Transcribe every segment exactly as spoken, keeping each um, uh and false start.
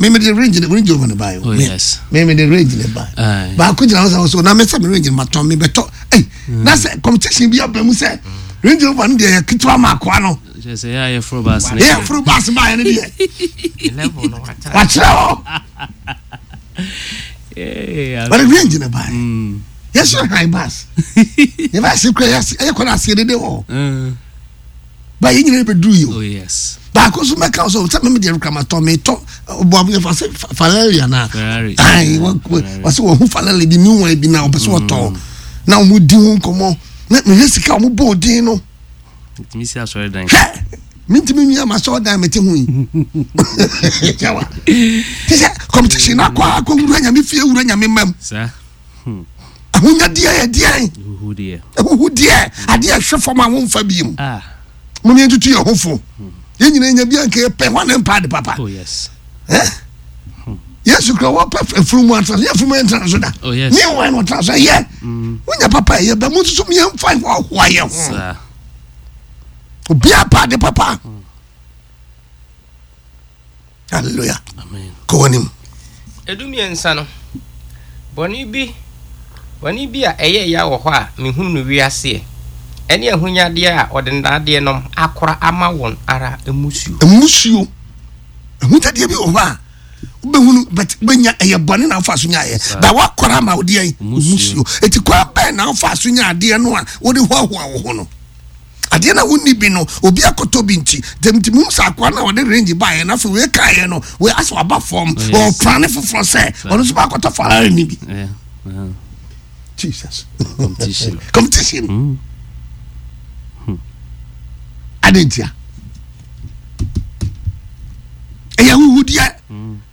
Me me de Range Range Rover ne ba yi. Oh, yes. Me me de Range ne ba. Aye. Baako gyina hɔ sɛ ɔso na me sɛ me Range no ma tɔn me bɛtɔ. Ɛy na sɛ competition bi aba mu sɛ Range Rover no deɛ yɛ ketewa ma akoa no. Kyerɛ sɛ yɛ a yɛforo baase no. Yɛ foro baase ba yɛ no deɛ. Level no watra. Wakyerɛ hɔ. Eh, Wɔde Range ne ba yɛ. Mm. Yɛsɛ high bus. Yɛ ba ase kura yɛ ase ɛyɛ kɔ na ase dede wɔ hɔ. Mm. Ba yɛ nyinaa bɛduru yi o. Oh yes. Baako nso mɛka sɛ sɛ mɛmɛ deɛ kura matɔ metɔ ɔbɔ yɛfa sɛ Ferrari anaa. Ferrari. Ayi wɔsɛ wɔn ho Ferrari bi new one bi na ɔpɛ sɛ wɔtɔ na wɔn di ho nkɔmɔ na mehwɛ sika a wɔn bɔ odin no. Ntumi si asɔre dan. Hwɛ, mintimi nwi ama sɛ ɔdan mete ho yi yawa te sɛ competition na akɔ akɔ wura Nyame fie, wura Nyame mam. Saa. Ahonyadeɛ yɛ deɛn? Huhu deɛ. Ahuhudeɛ, adeɛ ɛhwɛ fam a womfa bi mu. Ah. Mo ne yɛntutu yɛn ho fo. Yɛn nyinaa nya bi anka yɛpɛ hɔ ne mpa ade papa. Oh yes. Eh? Yesu kura wɔpɛ afunumu atena so, yɛ afunumu yɛntena so da. Oh, yes. Ne wɔn na ɔtena so ɛyɛ wonya papa ɛyɛ bɛ mo nso yɛmfa hoahoa yɛn ho. Saa. Obiara pa ade papa. Hallelujah. Amen. Kɔ w'anim. Edu mmiɛnsa no, bɔne bi bɔne bi a ɛyɛ ya wɔ hɔ a mehunu no wiaseɛ, ɛne ahonyadeɛ a ɔde nnadeɛ nom akora ama wɔn ara mmusuo. Mmusuo. Ahonyadeɛ bi wɔ hɔ a wobɛhunu, but wobɛnya ɛyɛ bɔne na wofa so nyaeɛ ba woakɔra ama wodeɛ Mmusuo. mmusuo. Ɛti kwan bɛn na wofa so nya adeɛ no a wode hoahoa wo ho no? Adeɛ na wonni bi no, obi akɔtɔ bi nti dɛm nti muhu sɛ akoa no a wɔde Range baeɛ no, afei wei kaeɛ no, wei asɛ waba fam. Yes. Ɔpra ne foforɔ sɛ ɔno nso baakɔtɔ Ferrari no bi. Yeah. Uh-huh. Jesus. Competition. Competition. Mm. Ade ntia ɛyɛ ahuhudeɛ.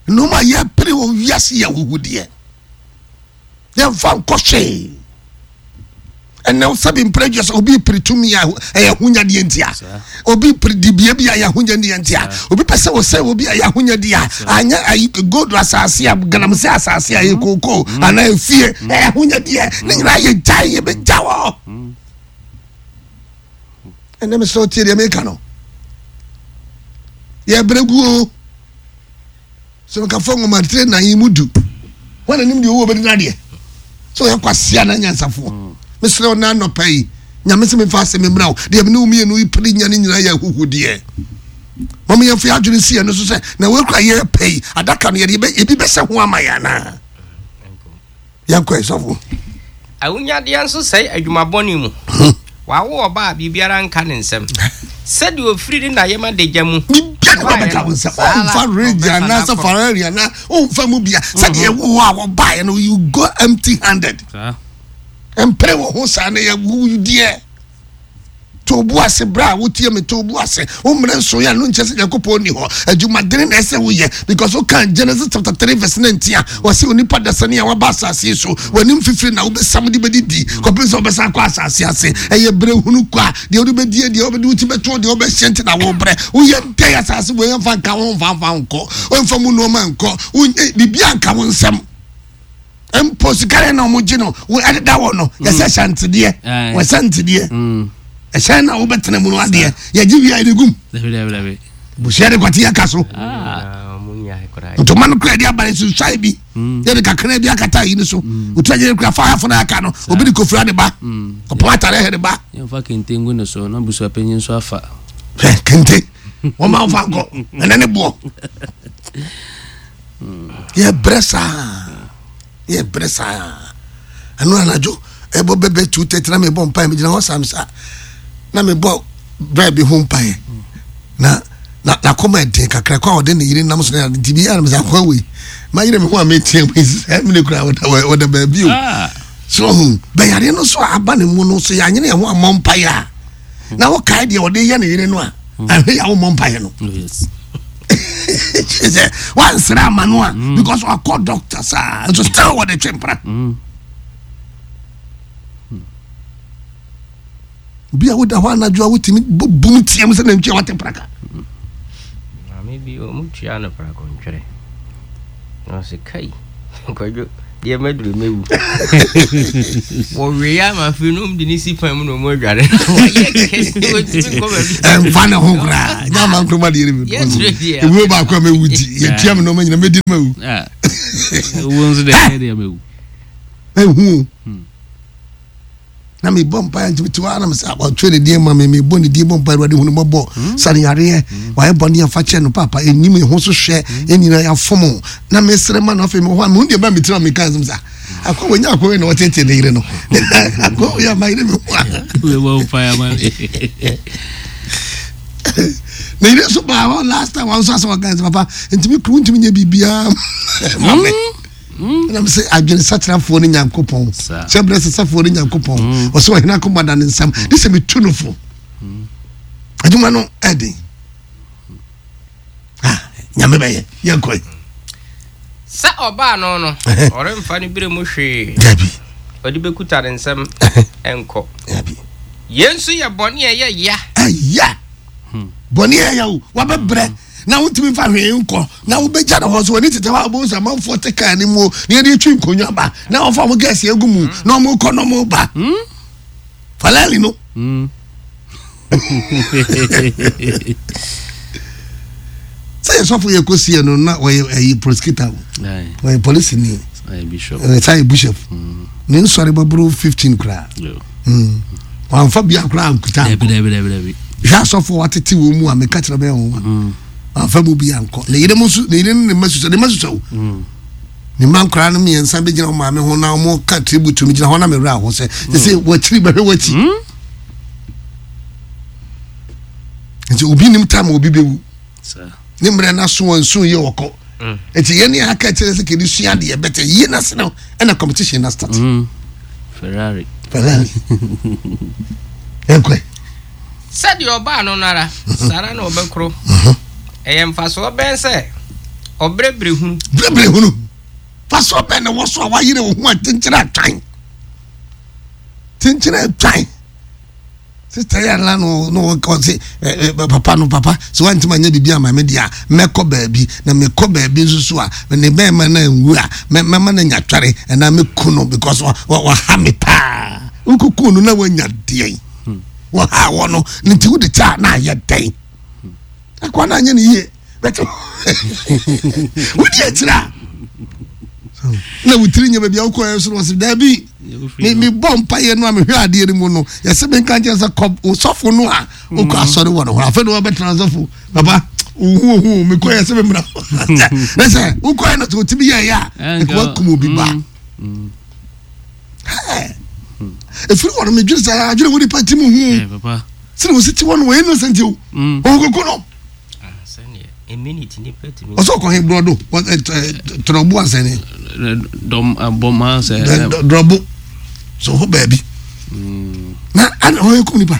Nneɛma a yɛpere wɔ wiase yɛ ahuhudeɛ, yɛmfa nkɔ hwee. Ɛnɛ sɛbi mpere dwa sɛ obi pere tumi a, ɛyɛ ahonyadeɛ ntia. Saa. Obi pere dibea bi a, ɛyɛ ahonyadeɛ ntia. Obi pɛ sɛ wɔsɛ obi a, ɛyɛ ahonyadeɛ a anyɛ ayi gold asase a galamsey asase a ɛyɛ kookoo anaa efie, ɛyɛ ahonyadeɛ. Ne nyinaa yɛ gyae, yɛbɛgya wɔ. Ɛnɛ mesrɛ wo, tie deɛ meka no. Yɛbrɛ gu o. Sɛ mekafo nwoma tire nan yi mu du wọn anim deɛ owó bɛdi n'adeɛ sɛ ɔyɛ kwasia na nyansafoɔ. Mesrɛ wo, na anɔpa yi Nyame sɛ memfa asɛm mmra wo. Deɛ mene wo mmienu yi pere nya ne nyinaa yɛ ahuhudeɛ. Mama yɛmfa yɛ adwene si ɛno so sɛ na wɔakura yɛ pɛ yi adaka no, yɛde yɛbɛ- ebi bɛsɛ ho ama yɛ anaa? Yɛnkɔ, ɛsɔfo. Ahonyadeɛ nso sɛe adwuma bɔne mu. Wawo ɔba a biribiara nka ne nsɛm, sɛdeɛ ofiri ne nayɛm adagya mu Bibia ne wɔbɛka wo nsɛm. Ɔmfa Range anaasɛ Ferrari anaa ɔmfa mu bia sɛdeɛ ɛwo hɔ a wɔbaeɛ no, you go empty handed. Saa. Mpere wɔ ho saa ne yɛwudeɛ. To bu ase berɛ a wotie me, to bu ase. Wo mmerɛ nso yɛ no nkyɛ sɛ Nyankopɔn ni hɔ. Adwumadene na ɛsɛ woyɛ, because woka Genesis chapter three verse nineteen a, wɔsɛ onipa dasani a waba asase yi so, w'anim fifiri na wobɛsam de bɛdidi kɔpem sɛ wobɛsan kɔ asase ase. Ɛyɛ berɛ hunu kɔ a deɛ wode bɛdie, deɛ wobɛde wo ti bɛto, deɛ wobɛhyɛ nti na wobrɛ. Woyɛ dɛn asase wei yɛmfa nka wo, mfa mfa nkɔ, womfa mu nnoɔma nkɔ. Wonyɛ biribia nka wo nsɛm mpo. Sika yɛ na ɔmo gye no wo ɛdeda wɔ no, yɛsɛ hyɛntedeɛ. Aye. Wɔsɛ ntedeɛ. Mm. Ɛhyɛn na wobɛtena mu no adeɛ yɛgye wia yɛde gum. Dabi, dabi, dabi. Busua de kwate yɛka so. Ah. Ah, ɔmo nyae koraa. Ntoma no kura de aba no susuae bi, yɛde kakra bi akata yi no so. Otu agye kura fa afo no aka no, obi de kofura de ba, ɔpɔn atare hɛ de ba. Yɛmfa kente ngu ne so na busuapanyin nso afa. Hwɛ kente wɔn ma nfa nkɔ ɛnɛ ne boɔ. Yɛbrɛ saa, yɛbrɛ saa. Ɛno anadwo ɛbɔ bɛbɛ two thirty na mebɔ mpaeɛ. Megyina hɔ sam saa na mebɔ brɛ bi ho mpaeɛ na na n'akoma ɛden kakra kɔ a ɔde ne yere nam so na nti bi yɛ anam sɛ akɔ wei ma yere mi ho a metia mu sɛ mene kura ɔda ɔda baabi o. Ah. So ɔho bɛyare no so a aba ne mu no so, yɛanyene yɛn ho ammɔ mpaeɛ a na wokae deɛ ɔde yɛ ne yere no a, ahwɛ yɛ a wommɔ mpaeɛ no. Oh, yes. Sɛ wansrɛ ama no a, because wakɔ doctor saa nso still wɔde twe mpra. Mm. Obi a woda hɔ anadwo a wotumi bɔ bum team sɛ nantwi a wate praka. Maame bi, ɔmo tua no prakontwerɛ na ɔsɛ kai Kwadwo Deɛ mɛduru mɛwu. Wɔwe ama afei no ɔmde ne si fan mu na ɔmu adware. Wɔyɛ kɛse wɔntumi nkɔ baabi. Ɛmfa ne ho koraa nyɛ ama nkroma deɛ ne Yɛkyerɛ deɛ. Ewuo baako a mɛwu ti yɛtua me nɔɔma nyina mɛdi no mawu. Ah. Wo nso deɛ ɛyɛ deɛ mɛwu. Ɛhu na mebɔ mpaeɛ nti mete hɔ a na mesɛ ɔtwerɛ ne din ma me, mebɔ ne din bɔ mpaeɛ, Awurade hu no mmɔbɔ, sane yareɛ, wayɛ bɔne afa kyɛ no, papa ɛnim ɛho so hwɛ, ɛnyina yɛafom o. Na mesrɛ ma no. Afei mewɔ hɔ a mehu deɛ ba metiri a meka nsɛm sa akɔ wɔnya akɔ wei na wɔtete ne yere no akɔ wei ama yere me ho a Wobɛbɔ mpaeɛ ama me. Na yere nso baa hɔ last time, wɔn nso asɛ wɔka sɛ papa ntumi kuru ntumi nyɛ biribiara ma me. Ɛna sɛ adwene sakyerafoɔ ne Nyankopɔn Saa. sɛ berɛ sesafoɔ ne Nyankopɔn ɔsɛ ɔhene akoma da ne nsam de sɛ metu no fo. Adwuma no ɛden. Ah, Nyame bɛyɛ yɛnkɔe. Sɛ ɔbaa no no ɔremfa no berɛ mu hwee. Dabi. Ɔde bɛkuta ne nsɛm ɛnkɔ. Dabi. Yɛn nso yɛ bɔne a ɛyɛ ya. Ɛyɛ bɔne ɛyɛ o, wabɛbrɛ na wotumi mfa hwee nkɔ na wobɛgya no hɔ so wɔne tete hɔ a wobɛhu sɛ amanfoɔ te kaa no mu o, na yɛde twi nkonnwa ba na wɔfa mo gɛɛse agu mu na ɔmokɔ na ɔmoba falali no. Mm. Sɛ yɛ sɔfo yɛ kɔsiɛ no na wɔyɛ ɛyi prosecutor o. Aye. Wɔyɛ polisi ni. Aye, bishop. Ɛyɛ saa yɛ bishop ne nsɔre bɛboro fifteen koraa. Yo. Mm. Wamfa bia koraa nkuta. Dabi, dabi, dabi, dabi. Hwɛ asɔfo watete wɔ mu a meka kyerɛ bɛyɛ ho a wamfa mu bi ankɔ ne yere mu nso, ne yere ne ne mma susua, ne mma susua o. Ne mma nkwaraa no mmiɛnsa bɛgyina wɔn maame ho na wɔn ka tribute no gyina hɔ na mewura ho sɛ sɛ sɛ wɔakyiri bɛhwɛ wɔakyi nti obi nim time a obi bɛwu. Saa. Ne mmerɛ no aso wɔn nso yɛ wɔkɔ nti yɛn ne aka kyerɛ sɛ kɛde sua adeɛ bɛtɛ yie na se no ɛna competition na start. Mm. Ferrari. Ferrari ɛnkɔɛ. Sɛdeɛ ɔbaa no no ara saa ara na ɔbɛkoro. Ɛyɛ mfasoɔ bɛn sɛ ɔbrɛbrɛ hunu? Bebree hunu faso bɛn na wɔ so a wayere wo ho a kyenkyere atwan kyenkyere atwan. Sista yɛ ala no no wɔka sɛ ɛ ɛ papa no papa sɛ wantumi anyɛ biribi ama me deɛ a, mɛkɔ baabi na mekɔ baabi nso so a ne bɛrima no anwu a mɛ mɛma no anya tware ɛna mɛku no because wa wa waha me paa. Nkuku no na wanya deɛn wɔha wɔ no ne nti wode kyɛ a na ayɛ dɛn akɔ na anyɛ ne yie bɛtɛ wodi akyire a na wotiri nyɛ baabi a wokɔɛ so no wɔsɛ daabi me me bɔ mpaeɛ no a mehwɛ adeɛ no mu no yɛsɛ menka nkyerɛ sɛ kɔ sɔfo no a wokɔ asɔre wɔ no hɔ. Afei na wɔbɛtena sɔfo papa ohu ohu mekɔ yɛ sɛ memmra na sɛ wokɔɛ no sɛ wotumi yɛɛyɛ a ɛka wakum obi ba. Ɛfiri hɔ no medwene sɛ adwene wo nipa ti mu hu Eh, papa. sɛne wɔsi ti hɔ no wɔyɛ innocent o. Mm. Ɔkɔkɔ no. Ah, sɛneɛ a minute nipa tumi. Ɔsɛ ɔkɔhe borɔdo tɔrɔbo asɛne. Dɔm abɔma sɛ. Drɔbo so hɔ baabi na ana ɔyɛ kum nipa.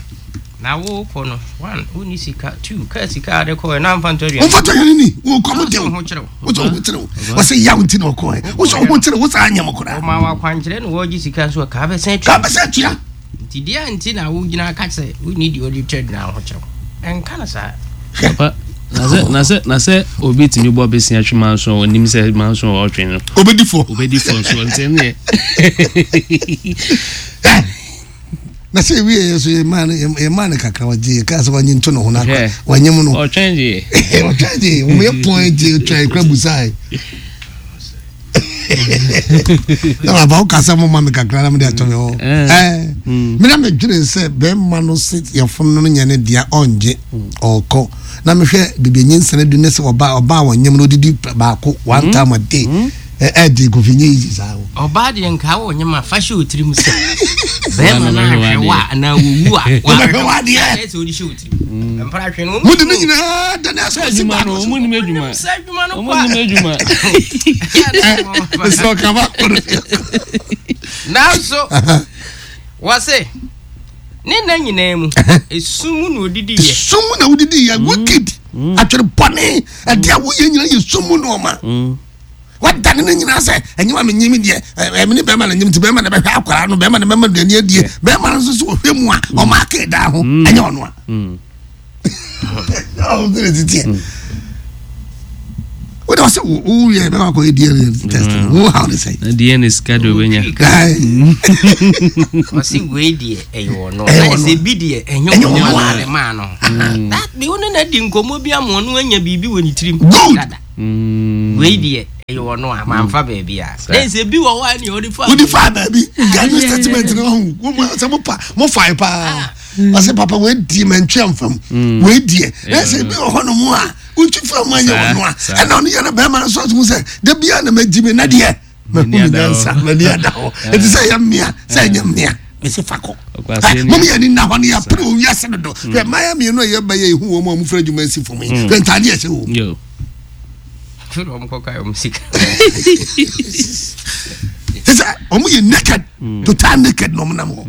Na wokɔ no, one, wonni sika, two, kaa sika a de kɔɛ na amfa ntɔ aduane. Wɔmfa tɔ yɛne ni wɔkɔ mo dew. Wo ho kyerɛ wo. Wosɛ wo ho kyerɛ wo, wɔsɛ yaw nti na ɔkɔɛ wosɛ wo ho kyerɛ wo saa anyɛ mo koraa. Ɔma wo akwankyerɛ na wɔgye sika nso a kaa bɛsɛn atua. Ka bɛsɛ atua. Nti deɛ nti na wogyina ka sɛ wonni deɛ ɔde twa aduane ho kyerɛ wo, ɛnka no saa. Papa, na sɛ na sɛ na sɛ obi tumi bɔ besia twe manso a onim sɛ manso a ɔtwe no obɛdi fɔ. Obɛdi fɔ nso nti ɛneɛ. Na sɛ ewie yɛ so yɛmaa no yɛmaa no kakra wɔgye yɛ kaa sɛ wɔnye nto ne ho no akɔ Hwɛ. wɔnyɛ mu no. Ɔtwɛn deɛ. Ɔtwɛn gye wɔn yɛ pɔn gye twɛn kura busae na baba wo kasa mo ma me kakra na mo de atɔ me hɔ. Eh. Ɛɛ Mm. me na me dwene sɛ bɛrima no se yɛfono no nyɛ ne dea ɔngye ɔkɔ na mehwɛ bibi nyinsɛn du ne sɛ ɔba ɔba a wɔnyem no odidi baako one time a day ɛ ɛdi kofi nye yi saa o. Ɔbaa deɛ nka wɔ nyɛ ma fa hyɛ wo tirim sɛ bɛrima no Wɔbɛhwɛ ahwɛ wo a anaa wɔwu a Wɔbɛhwɛ wo adeɛ. Ayɛ sɛ wode hyɛ wo tirim mpra hwɛ no. Mo de ne nyinaa da ne asɔ si Adwuma no baako so. ɔmo nim adwuma. Sɛ adwuma no Ɔmo kɔ nim adwuma. a Sɛ ɔkaba kɔrɔ. Nanso wɔse ne nna nyinaa mu esum mu na odidi yɛ. Sum na wodidi yɛ wicked atwere bɔne ɛde a woyɛ nyina yɛ sum mu nɔɔma. Mm. Wadane no nyinaa sɛ ɛnyɛ ma menyim deɛ ɛmene bɛrima na nyim nti bɛrima na bɛhwɛ akwaraa no, bɛrima na bɛma aduane adie, bɛrima no nso so wɔhwɛ mu a ɔma ake daa ho ɛnyɛ ɔno a Mm. ɔno titiɛ. Wode ɔsɛ woyɛ bɛma akɔyɛ D N A test no, wo haw ne sɛn? Na D N A sika de obɛnya. Ɔsi wei deɛ ɛyɛ ɔno. Ɛyɛ na ɔno. Sɛ bi deɛ ɛnyɛ Ɛnyɛ ɔno. ɔno. A ne maa no that bi wo ne na di nkɔmmɔ bi ama ɔno anya biribi wɔ ne tirim Good. dada. Mm. Wei deɛ ɛyɛ ɔno a mamfa baabi a na sɛ bi wɔ hɔ a ne ɔde fa. Wode faa baabi ganu statement no ɔhu sɛ mopa mofae paa. Ɔsɛ papa wei die mantwi amfam, wei deɛ na sɛ bi wɔ hɔ nom a wotwi fa mu anyɛ Saa, ɔno a saa. ɛna ɔno yɛ no bɛrima no so atom sɛ da bia na magyi me na deɛ mahu M'ani me ada hɔ. nyansa, m'ani ada hɔ. Ɛnti sɛ ɛyɛ mmea sɛ ɛnyɛ mmea, mɛsɛ fa kɔ. Ɔkwasea ni. Mom yɛni nna hɔ no yɛpere wɔ wiase dodo. Hwɛ mmaayɛ mmienu a yɛba yɛ ɛhu wɔ mu a mofra adwuma asi fam yi, hwɛ ntadeɛ ɛhyɛ wɔ mu. Yo. Firi ɔmo kɔka ɔmo sika. Te sɛ ɔmo yɛ naked, total naked na ɔmo nam hɔ.